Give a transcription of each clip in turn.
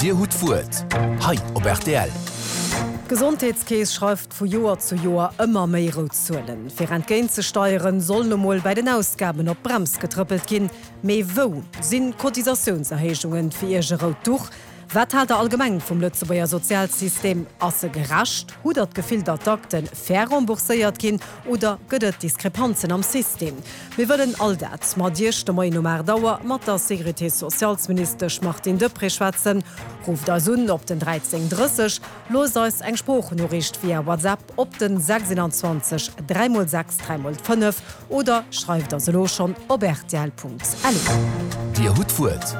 Dir hutt d'Wuert hei op rtl. D'Gesondheetskeess schreift vu Joer zu Joer ëmmer méi rout Zuelen. Fir entgéint ze steieren, soll nu mol bäi den Ausgaben op d'Brems getrëppelt ginn. Mee wou sinn Cotisatiounserhéijungen fir Iech e rout Duch? Wat haalt der allgemeng vum Lëtzebuerger Sozialsystem? Ass e gerecht? Hutt der d'Gefill, datt d'Akte fair rembourséiert ginn oder gëtt et Diskrepanzen am System? Mir wëllen all dat mat Iech de Moien um 8 Auer mat der Sécurité-socialsministesch Martine Deprez schwätzen. Rufft eis un op den 13 30, loosst eis eng Sproochnoriicht via WhatsApp op den 26 3 x 6 3 x 5 Oder schreift eis elo schonn op rtl.lu. Dir hutt d'Wuert.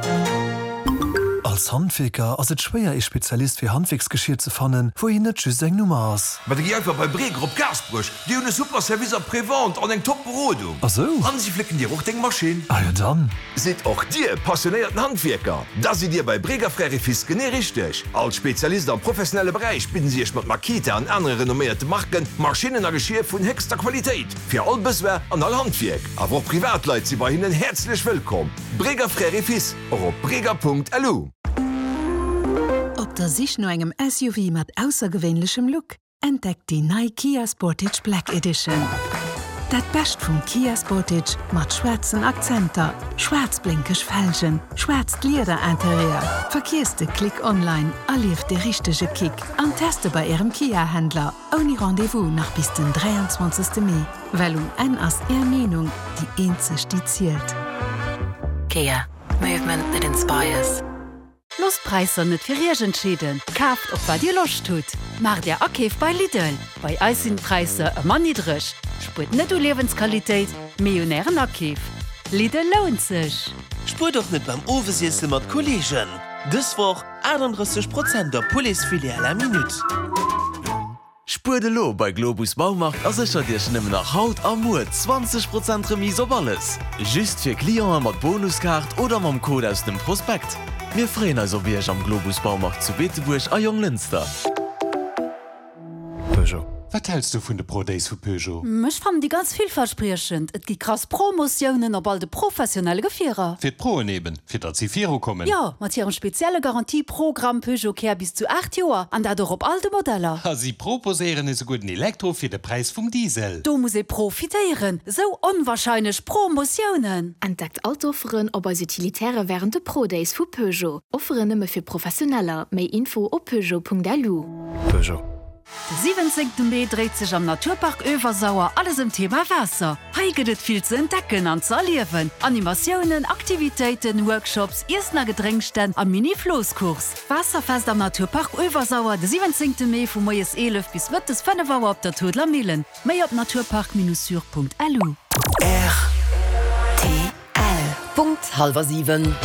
Als Handwierker ass et schwéier ee Spezialist fir Handwierksgeschier ze fannen, wou een net just eng Nummer ass. Ma da gi einfach bei Breger op Gaasperech, déi hunn e super Service après-vente an eng top Berodung. Ah sou? An si flécken dir och deng Maschinn. Ah jo dann. Sidd och dir passionéierten Handwierker? Da sidd dir bei Breger Frères et Fils genee richteg. Als Spezialist am professionelle Beräich bidden si iech mat Makita an anere renomméierte Marken Maschinnen a Geschier vun héchster Qualitéit. Fir all Besoin an all Handwierk, awer och Privatleit si bei hinnen häerzlech wëllkomm. Breger Frères et Fils, och op breger.lu. Op der Sich no engem SUV mat aussergewéinlechem Look? Entdeckt déi nei Kia Sportage Black Edition. Dat Bescht vum Kia Sportage mat schwaarzen Akzenter, schwaarz blénkeg Felgen, schwaarzt Lieder-Interieur. Verkiesst de Klick online, erlieft de richtege Kick an teste bei Ärem Kia-Händler. Ouni Rendez-vous nach bis den 23. Mee, well um Enn ass Är Meenung déi eenzeg déi zielt. Kia, movement that inspires. Loosst d'Präisser net fir Iech entscheeden, kaaft op wat Dir Loscht hutt. Maacht Är Akeef bei Lidl, bei eis sinn d'Präisser ëmmer niddreg. Spuert net u Liewensqualitéit, mee un Ären Akeef. Lidl lount sech! Spuert och net beim Owesiesse mat Kolleegen! Dës Woch 38 Prozent op Pouletsfilet à la minute. Spuert elo bei Globus Baumarkt a séchert Iech nëmmen nach haut a muer 20 Prozent Remise op alles! Just fir Clienten mat Bonuskaart oder mam Code aus dem Prospekt. Mir freeën eis op Iech am Globus Baumarkt zu Beetebuerg a Jonglënster. Peugeot. Wat häls du vun de Pro Days vu Peugeot? Ech fannen déi ganz villverspriechend. Et gi krass Promotiounen op all de professionelle Gefierer. Fir d'Proen eben, fir datt si viru kommen. Jo, mat hirem spezielle Garantie-Programm Peugeot Care bis zu 8 Joer, an dat och op all de Modeller. A si proposéieren esouguer den Elektro fir de Präis vum Diesel. Do muss ee profitéieren, esou onwahrscheinlech Promotiounen! Entdeckt all d'Offeren op eis Utilitäre wärend de Pro Days vu Peugeot. Offeren nëmme fir Professioneller. Méi Info op peugeot.lu. Peugeot. De 17 Mee dréit sech am Naturpark Öewersauer alles ëm d'Thema Waasser. Hei gëtt et vill ze entdecken an ze erliewen, Animatiounen, Aktivitéiten, Workshops, Iessen a Gedrénksstänn a Mini-Floosscourse. Waasserfest am Naturpark Öewersauer de 17 Mee vu moies 11 bis mëttes 5 Auer op der Toodler Millen. Méi op naturpark-sur.lu. Rtl. Punkt hallwer 7.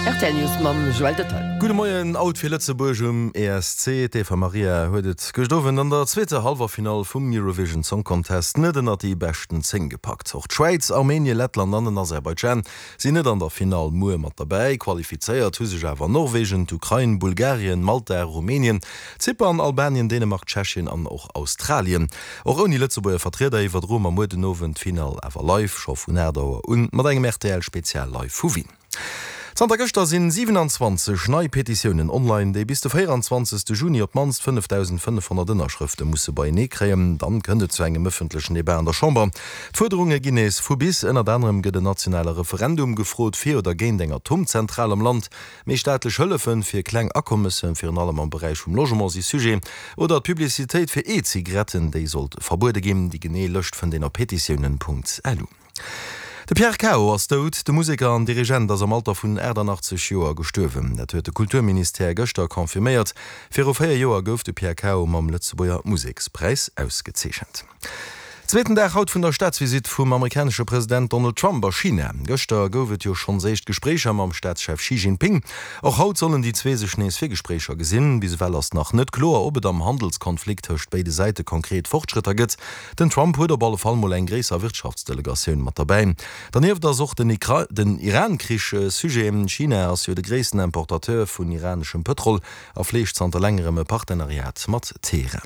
Rtl News mam Joël Döttel. Gudde Moien, Out fir Lëtzebuerg um ESC. D'Eva Marija huet et gëscht Owend an der zweeter Hallwerfinall vum Eurovision Song Contest net ënnert déi beschten 10 gepackt. Och d'Schwäiz, Armenien, Lettland an den Aserbaidschan sinn net an der Finall muer mat derbäi. Qualifizéiert hu sech awer Norwegen, d'Ukrain, Bulgarien, Malta, Rumänien, Zypern, Albanien, Dänemark, Tschechien an och Australien. Och ouni Lëtzebuerger Vertrieder iwwerdroe mer muer den Owend d'Finall awer live, scho vun 8 Auer un, mat engem RTL-Spezial live vu Wien. Zanter gëschter sinn 27 nei Petitiounen online, déi bis de 24 Juni op d'mannst 5.500 Ënnerschrëfte musse beienee kréien. Dann kënnt et zu engem ëffentlechen Debat an der Chamber. D'Fuerderunge ginn nees vu bis. Ënnert anerem gëtt en nationale Referendum gefrot fir oder géint eng Atomzentral am Land. Méi staatlech Hëllefen fir kleng Akommessen, virun allem am Beräich vum Logement, si Sujet. Oder d'Publicitéit fir E-Zigaretten, déi sollt verbuede ginn. Déi genee Lëscht fënnt een op petitiounen.lu. De Pierre Cao ass dout. De Museker an Dirigent ass am Alter vun 88 Joer gestuerwen. Dat huet de Kulturministère gëschter confirméiert. Viru 4 Joer gouf de Pierre Cao mam Lëtzebuerger Musekspräis ausgezeechent. Zweeten Dag haut vun der Staatsvisitt vum amerikanesche President Donald Trump a China. Gëschter gouf et jo schonns éischt Gespréicher mam Staatschef Xi Jinping. Och haut sollen déi zwee sech nees fir Gespréicher gesinn. Bis ewell ass nach net kloer, ob et am Handelskonflikt tëscht béide Säite konkret Fortschrëtter gëtt. Den Trump huet op alle Fall mol eng gréisser Wirtschaftsdelegatioun mat derbäi. Dernieft ass och den Iran-Krich Sujet. China ass jo de gréissten Importateur vun iraneschem Pëtrol a fleegt zanter längerem e Partenariat mat Teheran.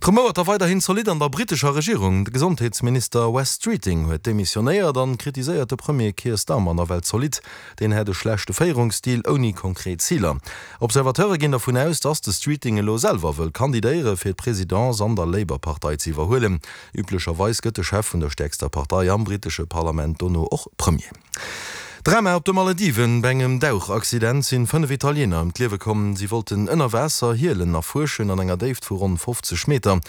D'Rumouert da weiderhin zolidd an der brittescher Regierung. De Gesondheetsminister Wes Streeting huet demissionéiert an kritiséiert de Premier Keir Starmer nawell zolidd. Deen hätt e schlechte Féierungsstil ouni konkret Ziler. Observateure ginn dervun aus, datt de Streeting elo selwer wëll kandidéiere fir d'Presidence an der Labour-Partei ze iwwerhuelen. Üblecherweis gëtt de Chef vun der stäerkster Partei am brittesche Parlament dono och Premier. Drama op de Malediven, Bei engem Dauchaccident sinn 5 Italiener ëm d'Liewe komm. Si wollten ënner Waasser Hielen erfuerschen an enger Déift vu ronn 50 Meter.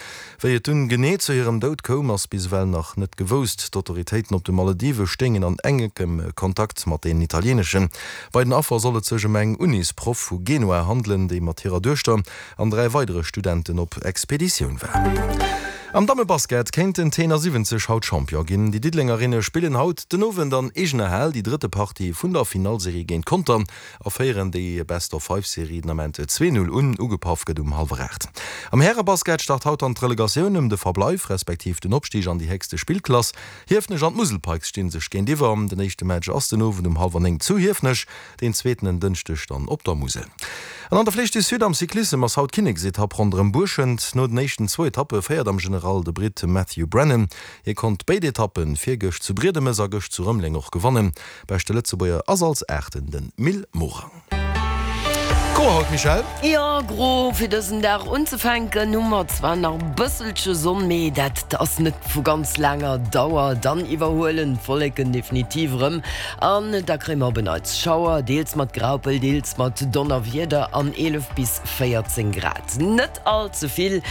Wéi et dunn genee zu hirem Doud koum, ass bis ewell nach net gewousst. D'Autoritéiten op de Maledive stéingen an enkem Kontakt mat den italieeneschen. Bei den Affer soll et sech ëm eng Unisproff vu Genua handelen, déi mat hirer Duechter an 3 weidere Studenten op Expeditioun war. Am Dammebasket kéinten d'Teener 70 haut Champion ginn. Déi Diddelengerinne spillen haut den Owend an eegener Hal déi drëtte Partie vun der Finallserie géint Conter a féieren déi Best-of-Five-Serie den Ament 2, 0 un. Ugepaff gëtt um hallwer 8. Am Härebasket start haut dann d'Relegatioun ëm de Verbleif respektiv den Opstig an déi héchste Spillklass. Hiefenech an d'Musel Pikes sti sech géintiwwer. Den éischte Match ass den Owend um hallwer 9 zu Hiefenech. Deen zweeten en Dënschdeg dann op der Musel. An an der Flèche du Sud am Cyclissem ass haut d'Kinneksetapp ronderëm Buerschent. No den éischten zwou Etappe féiert am General de Britt Matthew Brennan. Hie konnt béid Etappen, virgëscht zu Briedemes a gëscht zu Rëmeleng och gewannen. Beschte Lëtzebuerger ass als Aachten de Mil Morang. Gro haut, Michèle? Jo, gro. Fir dësen Dag unzefänken hu mer zwar nach e bësselche Sonn, mee dat ass net vu ganz laanger Dauer. Dann iwwerhuelen d'Wolleken definitiv erëm An da kréie mer op en Neits Schauer, deels mat Graupel, deels mat Donnerwieder an 11 bis 14 Grad. Net all ze vill.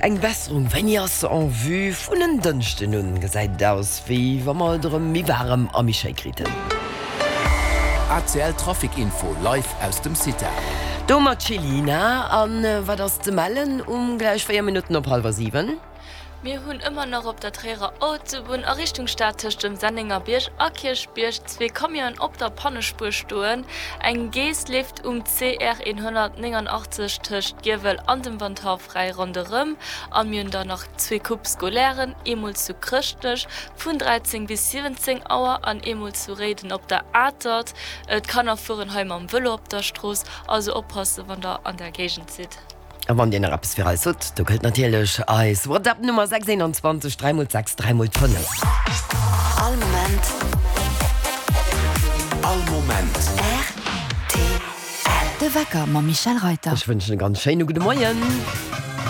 Eng Besserung, wéini ass se en vue? Vun en Dënschden un gesäit et aus, wéi wa mer et erëm méi waarem a méi schéi kriten. ACL Trafic Info live aus dem CITA. Do mat Chelina. An wat ass ze mellen um gläich 4 Minutten op hallwer 7? Mir hunn ëmmer nach op der Tréierer Autobunn a Richtung Stad tëscht dem Sennengerbierg a Kierchbierg zwee Camionen op der Pannespuer stoen. Eng Geess leeft um CR 189 tëscht Giewel an dem Wandhaff fräi ronderëm. A mir hunn dann nach zwee Coupes scolairen, eemol zu Chrëschtnech vun 13 bis 17 Auer an eemol zu Réiden op der Atert. D'Kanner fueren hei mam Vëlo op der Strooss, also oppasse wann der an der Géigend sidd. A wann Dir nach eppes fir eis hutt, do gëllt natierlech eis WhatsApp-Nummer 6 21 3 mol 6 3 mol 5. All Moment. All Moment. Rtl. De Wecker mam Michèle Reyter. Ech wënschen e ganz schéine gudde Moien.